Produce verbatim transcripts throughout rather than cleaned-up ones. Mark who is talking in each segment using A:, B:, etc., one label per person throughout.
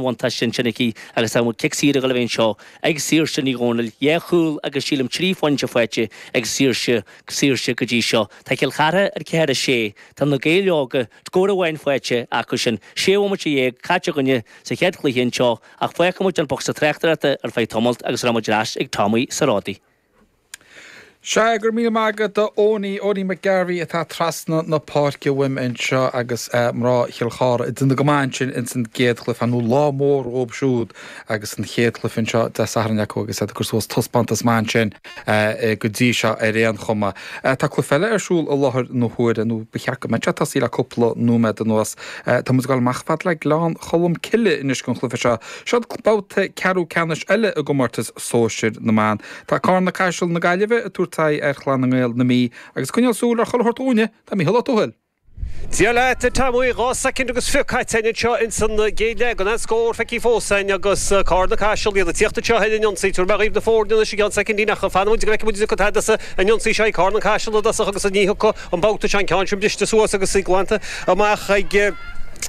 A: bhuntáiste ansin aici agus tá cic saor ag dul a bheith anseo ag Saoirse Ní Dhomhnaill dhá chúl agus sílim trí phointe faighte ag Saoirse Saoirse go dtí seo. Tá Cill Chartha ar ceathair a sé Tá na Gaeil Óga scór amháin faighte acu sin sé bhomaite dhéag caite againne sa chéad chluiche anseo ach fágfaidh muid an bocsa tráchtaireachta ar feadh tamaill agus rachaidh muid ar ais ag Tommy Sarádaí.
B: Sea go raibh míle maith agat a Owenie Owenie McGarvey atá trasna na páirce uaim anseo agus mná Chill Chartha ag déanamh go maith ansin ins an gcéad chluiche nó lá mór dóibh siúd agus an chéad chluiche anseo Dé Sathairn acu agus iad ag cur suas taispeántas maith ansin go dtí seo ar aon chuma. Tá cluiche eile ar siúl i láthair na huaire nó ba cheart go mbeadh sé tosaithe le cúpla nóiméad anuas. Tá muid ag dul amach fad le Gleann Cholm Cille anois don chluiche seo. Seo babhta ceathrú ceannais eile i gcomórtas sóisir na mban. Tá Carna Caiseal na Gaillimhe ag tabhairt aghaidh ar Chlann na nGael na Mí agus coinneáil súil ar chuile shórt dúinne tá Mícheál Ó Tuathail.
C: Dia leat Tommy dhá soicind agus fiche caite anseo ins an gcéad leath gan aon scór feicthe fós againn agus Carna Caiseal iad ag tíocht anseo ar an ionsaí tabharfaidh mé dhaoibh na foirne anois i gceann soicindín ach fanfaidh muid go bhfeicfidh muid cad as an ionsaí seo Carna Caiseal i dtosach agus ní thiocfaidh an babhta seo an ceann sin briste suas agus í glanta amach ag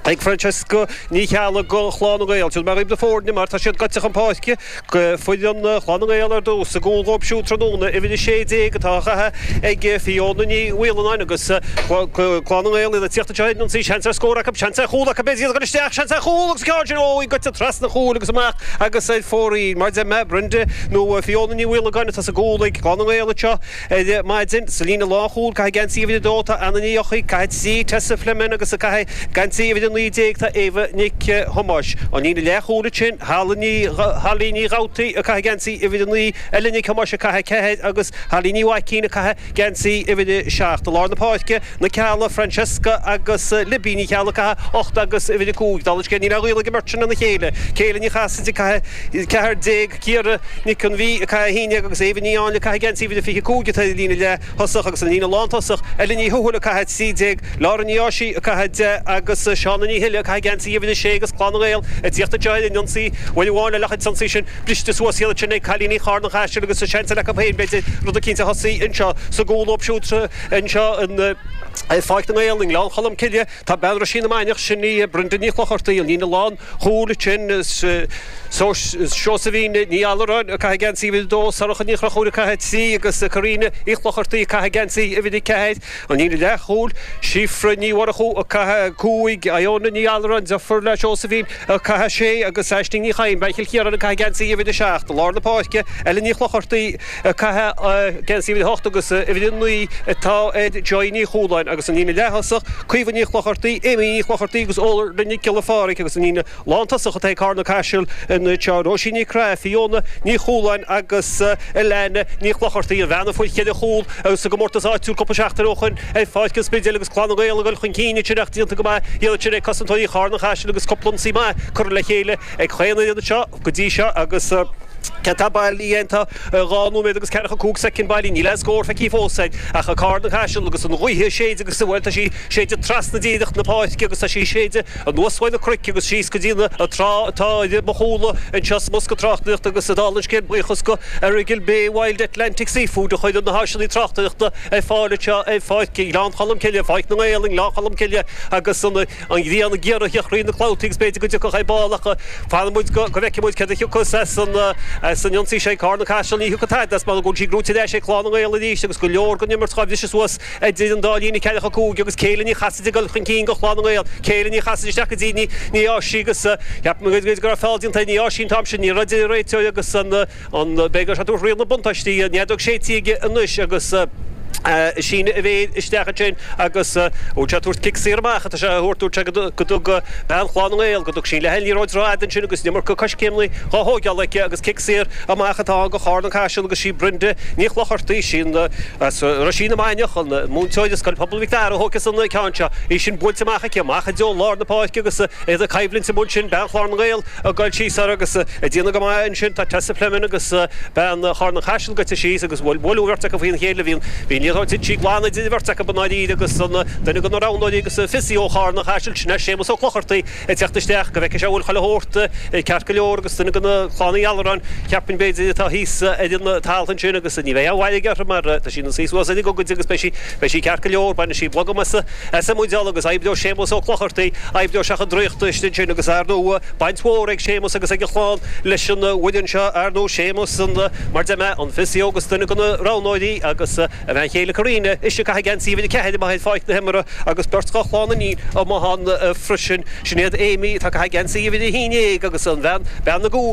C: ag Francesca Ní Cheallaigh do Chlann na nGael. Tabharfaidh mé dhaoibh na foirne mar tá siad goite chun páirce go foireann Chlann na nGael ar dtús i gcúl dhóibh siúd tráthnóna uimhir a sé déag atá á chaitheamh ag Fiona Ní Mhaolannáin agus Clann na nGael iad ag tíocht anseo ar an ionsaí seans ar scór acu seans ar chúl acu b'fhéidir iad ag dul isteach seans ar chúl agus ceann sin ó í goite trasna chúil agus amach agus ar fóraoil mar deir mé Brenda nó Fiona Ní Mhaolagáin atá sa gcúl ag Clann na nGael anseo ar maidin sa líne lánchúil ag caitheamh geansaí uimhir a dó tá Anna Ní Eochaidh ag caitheamh trí Tessa Fleming agus ag caitheamh geansaí uimhir a naoi déag tá Éabha Nic Thomáis. An líne leathchúil ansin Holly Ní Dhabhtaí ag caitheamh geansaí uimhir a naoi, Ella Nic Thomáis ag caitheamh ceathair agus Holly Ní Mhaicín ag caitheamh geansaí uimhir a seacht. I lár na páirce, na Ceallaigh, Francesca agus Libby Ní Cheallaigh ag caitheamh ocht agus uimhir a cúig. Dála an scéil níl aon ghaol ag an mbeirt sin lena chéile. Céile Ní Chasaide ag caitheamh ceathair déag, Ciara Nic an Mhí ag caitheamh a haon déag agus Éabha Ní Áinle ag caitheamh geansaí uimhir a fiche cúig atá ar an líne leath thosach agus an líne lántosach, Ella Ní Thuathail ag caitheamh trí déag, Laura Ní Áisigh ag caitheamh deich agus Shauna Ní Thuile ag caitheamh geansaí uimhir a sé agus Clann na nGael ag tíocht anseo ar an ionsaí uair amháin eile ach an t-ionsaí sin briste suas iad sin ag cailíní Charn an Chaisil agus seans eile acu féin b'fhéidir rud eicínt a thosaí anseo sa gcúl dóibh siúd anseo in Pháirc na nGael i nGleann Cholm Cille. Tá bean Roisín na Mainiach, sin í Brenda Ní Chlochartaigh, an líne lán chúil ansin Seosaimhín Ní Allaráin ag caitheamh geansaí uimhir a dó, Sorcha Ní Chonchúir ag caitheamh trí agus Karina Uí Chlochartaigh ag caitheamh geansaí uimhir a ceathair. An líne leathchúil, Síofra Ní Mhurchú ag caitheamh cúig, Iona Ní Allaráin, deirfiúr le Seosaimhín, ag caitheamh sé agus Aisling Ní Chadhain, bean Chill Chiaráin ag caitheamh geansaí uimhir a seacht. I lár na páirce, Ella Ní Chlochartaigh ag caitheamh geansaí uimhir a hocht agus uimhir a naoi atá ar Joy Ní Chualáin agus an líne leath-thosach, Caoimhe Ní Chlochartaigh, Amy Ní Chlochartaigh agus Orla Nic Giolla Phádraig agus an líne lántosach atá ag Carna Caiseal anseo, Róisín Ní Craith, Fiona Ní Chualáin agus Alana Ní Chlochartaigh, an bhean a fuair ceithre chúl sa gcomórtas áitiúil cúpla seachtain ó shoin ar Pháirc an Spidéil agus Clann na nGael ag dul chun cinn ansin ach déanta go maith iad ansin ag cosantóirí Charna Chaisil agus cúpla ionsaí maith curtha le chéile ag chaon fhoireann anseo go dtí seo agus céard atá bailí tá dhá nóiméad agus ceathracha cúig soicind bailí níl aon scór feicthe fós ag ach Carna Caiseal agus an ghaoth ag séideadh agus bhuel tá sí ag séideadh trasna díreach na páirce agus tá sí ag séideadh anuas uaidh na cnoic agus síos go dtí na trá atá ar mo chúla anseo sa mbosca tráchtaireachta agus dála an scéil buíochas go Errigal Bay Wild Atlantic Seafood a chuireann na háiseanna tráchtaireachta ar fáil anseo ar Pháirc Ghleann Cholm Cille, Pháirc na nGael i nGleann Cholm Cille agus an ghrian ag iarraidh a theacht thrí na clabhtaí agus b'fhéidir go dtiocfadh ar ball ach fanfaidh muid go bhfeicfidh muid céard a thiocfas as an as an ionsaí seo ag Carna Caiseal. Ní thiocfaidh tada as mar go bhfuil sí gnóite ar ais ag Clann na nGael arís agus go leor den imirt dhá bhriseadh suas idir an dá líne ceathracha cúig agus Céile Ní Chasaide ag dul chun cinn do Chlann na nGael. Céile Ní Chasaide isteach go dtí Ní Ní Áisigh agus cheap mé go raibh feall déanta ar Ní Áisigh an t-am sin. Ní raibh a deir an réiteoir agus an an b'fhéidir go raibh sé ag tabhairt riail na buntáistí an fheadóg séidte aige anois agus síneadh a mhéir isteach ansin agus bhfuil sé ag tabhairt cic saor amach atá sé a thabhairt dúirt sé go dtug bean Chlann na nGael go dtug sí leath an liathróid rófhada ansin agus an iomarca coiscéimeanna dhá thóigeáil aici agus cic saor amach atá ann do Charna Caiseal agus sí Brenda Ní Chlochartaigh sin as Roisín na Mainiach an múinteoir i Scoil Pobail Mhic Dara a thógfas an ceann seo í sin buailte amach aici amach i dtreo lár na páirce agus iad ag coimhlint amuigh ansin bean Chlann na nGael ag goil síos air agus ag déanamh go maith ansin tá Tessa Fleming agus bean Charna Caiseal goite síos agus bhuail bualadh an bheirt acu faoina chéile. Bhí an liathróid tite glan idir an bheirt acu i ndáiríre agus an duine de na roghnóirí agus an physio ó Charna Chaisil, sin é Séamus Ó Clochartaigh ag teacht isteach go bhfeicfidh sé an bhfuil chuile shórt ceart go leor agus duine de na clann Uí Alluráin, cheapfainn b'fhéidir, atá thíos ar an talamh ansin agus ní bheidh aon mhairg orthu mar tá sí ina suí suas ar an gcogaid agus beidh sí beidh sí ceart go leor, bainfidh sí blogham as as a muideál agus oibreoidh Séamus Ó Clochartaigh, oibreoidh sé chun draíochta istigh ansin agus ar ndóigh baint mhór ag Séamus agus ag a chlann leis an bhfoireann seo, ar ndóigh Séamus an mar deir mé an physio agus duine de na roghnóirí agus a bhean chéile Karina ise ag caitheamh geansaí uimhir a ceathair amuigh ar pháirc na himeartha agus beirt dá chlann iníon amuigh ann freisin. Sin iad Amy atá ag caitheamh geansaí uimhir a haon déag agus an bhean, bean na gcúl.